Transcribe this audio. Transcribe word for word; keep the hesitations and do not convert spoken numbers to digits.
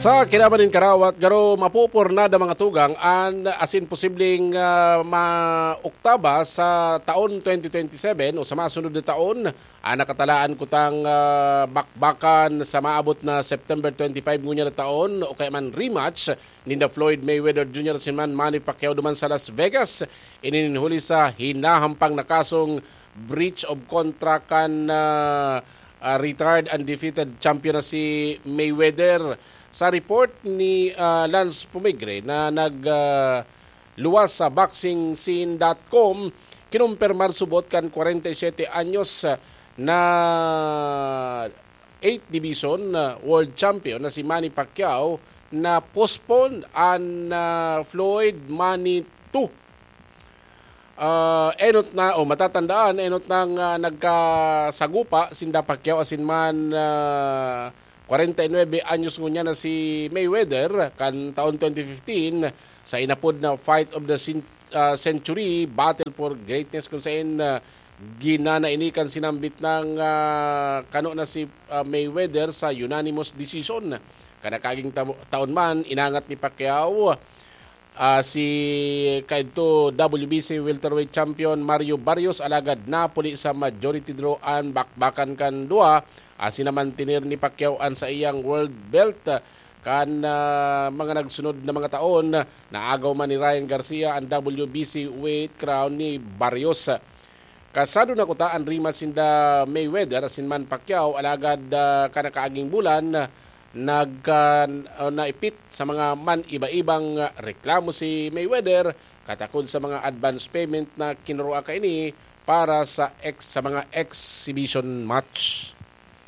Sa kinaban nin karawat, garo mapupurnada mga tugang an asin posibleng, ah, maoktaba sa taon twenty twenty-seven o sa masunod na taon, ang nakatalaan kutang, ah, bakbakan sa maabot na September twenty-five ngunyan na taon o kaya man rematch ninda Floyd Mayweather Junior asin man Manny Pacquiao duman sa Las Vegas. Ini nin huli sa hinahampang na kasong breach of contract kan, ah, ah, retired undefeated champion na si Mayweather. Sa report ni, ah, Lance Pumigre na nag, ah, luwas sa boxing scene dot com, kinumpirmar subot kan kwarenta y siyete anyos na eighth division, ah, world champion na si Manny Pacquiao na postpone an, ah, Floyd Manny two. Ah, enot na, o matatandaan, enot nang, ah, nagkasagupa sinda Pacquiao asin man, ah, kwarenta y nuebe anyos ngunyan na si Mayweather kan taon twenty fifteen sa inapod na Fight of the Cen-, ah, Century, Battle for Greatness, kung saen, ah, ginana ini kan sinambit nang, ah, kano na si, ah, Mayweather sa unanimous decision. Kan nakaaging tamo-, taon man, inangat ni Pacquiao, ah, si kaidto W B C welterweight champion Mario Barrios, alagad napuli sa majority draw an bakbakan kan duwa. Asin naman tinir ni Pacquiao an saiyang world belt, ah, kan, ah, mga nagsunod na mga taon. Naagaw man ni Ryan Garcia an W B C weight crown ni Barrios. Kasado na kuta an rematch sinda Mayweather asin man Pacquiao, alagad, ah, kan nakaaging bulan, nagka-, ah, naipit sa mga man-iba-ibang, ah, reklamo si Mayweather katakod sa mga advance payment na kinurua kaini para sa ex-, sa mga exhibition match.